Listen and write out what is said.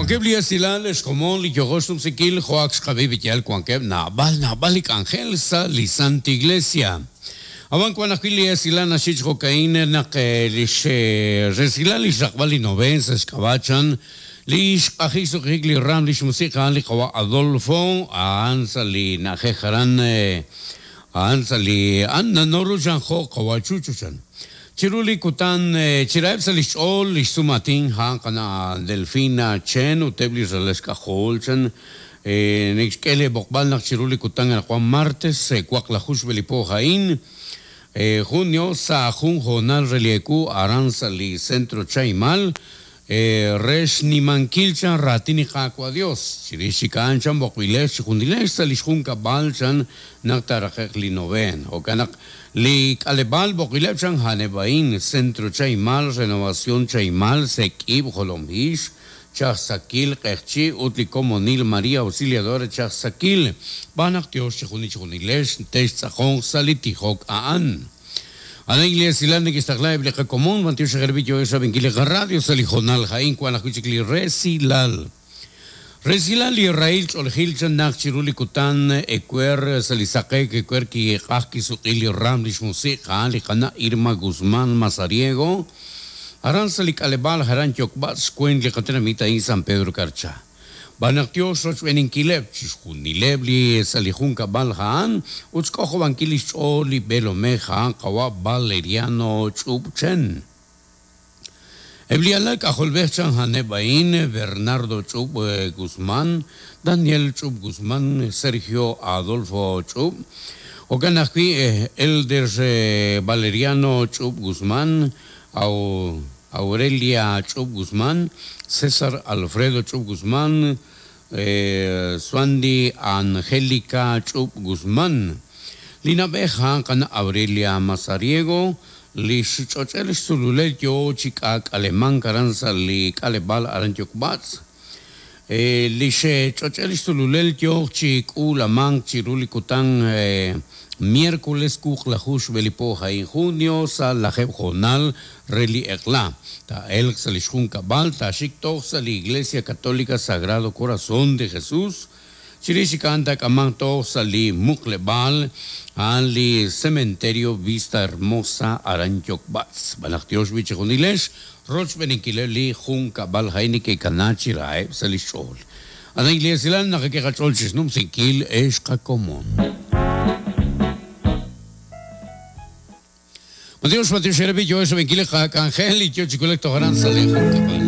Wankeb' li esilal xkomon li yojo xnumsinkil jo' ak xqab'i b'iyal wankeb' naab'al naab'al li k'anjel sa' li Santa Iglesia. Ab'an wan ajwi' li esilal naxye chi jo'ka'in naq lix resilal li xraqb'al li noveen sa' xk'ab'a' chan li xq'ajik xsuq'ijik li raam lix musiq' a'an li qawa' Adolfo a'an sa' li na'ajej aran a'an sa' li a'an nanoru chan jo' qawa' Chucho chan. Chiru li kutan chiraheb' sa' lix ch'ool lix sum aatin a'an qana' Delfina Chen ut eb' li ralal xk'ajol chan Neke'xk'e lee b'oqb'al naq chiru li kutan anaqwan martes, waqlaju xb'e li po a'in, junio, sa' jun hoonal re li ewu aran sa' li Centro Chaimal, re xnimankil chan raatin li Qaawa' Dios. Chirix chik a'an chan b'oqb'ilex chijunilex sa' lix junkab'al chan naq taaraqe'q li noveen. Jo'kan naq li k'aleb'aal b'oqb'ileb' chan a'aneb' a'in, Centro Chaimal, Renovación Chaimal, Sek'ib', Jolomhix, Chajsakil, Q'eqchi' ut li Komonil María Auxiliadora Chajsakil, xb'aan naq tyox chijunil chijunilex textz'aqonq sa' li tijok a'an. Aran li esilal neke'xtaqla eb' li qakomon, b'antiox xejerbi yoohex rab'inkil li qaradio sa' li hoonal a'in wank ajwi' chik li resilal. Resilal li rahil ch'oolejil chan naq chiru li kutan ewer sa' li saqe'k ewer kiq'aj kisuq'i li raam lix musiq' a'an li qana' Irma Guzmán Mazariego, Aran sa' li k'aleb'aal aran Yokb'atz xweent li qatenamit a'in San Pedro Carchá. B'an naq yoo xrochb'eeninkileb' chixjunileb' li sa' li junkab'al a'an ut xk'ojob'ankil li xch'ool li b'eelomej a'an qawa' Valeriano Ch'ub' Chen. Eb' li alal k'ajolb'ej chan a'aneb' a'in, Bernardo Ch'ub' Guzmán, Daniel Ch'ub' Guzmán, Sergio Adolfo Ch'ub', Jo'kan ajwi', Elder Valeriano Ch'ub' Guzmán, Aurelia Ch'ub' Guzmán, César Alfredo Ch'ub' Guzmán, Suandi Angélica Ch'ub' Guzmán. Li na'b'ej a'an qana' Aurelia Mazariego, li xch'och'el xsululel yoo chi k'aak'alemank aran sa' li k'aleb'aal aran Yokb'atz'. Li xch'och'el xsululel yooq chi k'uulamank chiru li kutan miércoles wuqlaju xb'e li po a'in junio sa' lajeeb' hoonal re li eq'la. Taa'elq sa' li xjunkab'al, taaxik toj sa' li Iglesia Católica Sagrado Corazón de Jesús, chirix chik a'an taak'amanq toj sa' li muqleb'aal a'an li Cementerio Vista Hermosa aran Yokb'atz. Xb'aan naq tyox b'i' chijunilex rochb'eeninkileb' li junkab'al a'in neke'kana chi raheb' sa' lix ch'ool. Aran li esilal naqak'e qach'ool chixnumsinkil ex qakomon. Matiox, matiox eere b'i' yo xrab'inkil li qak'anjel li yo chi wulak toj aran sa' li junkab'al.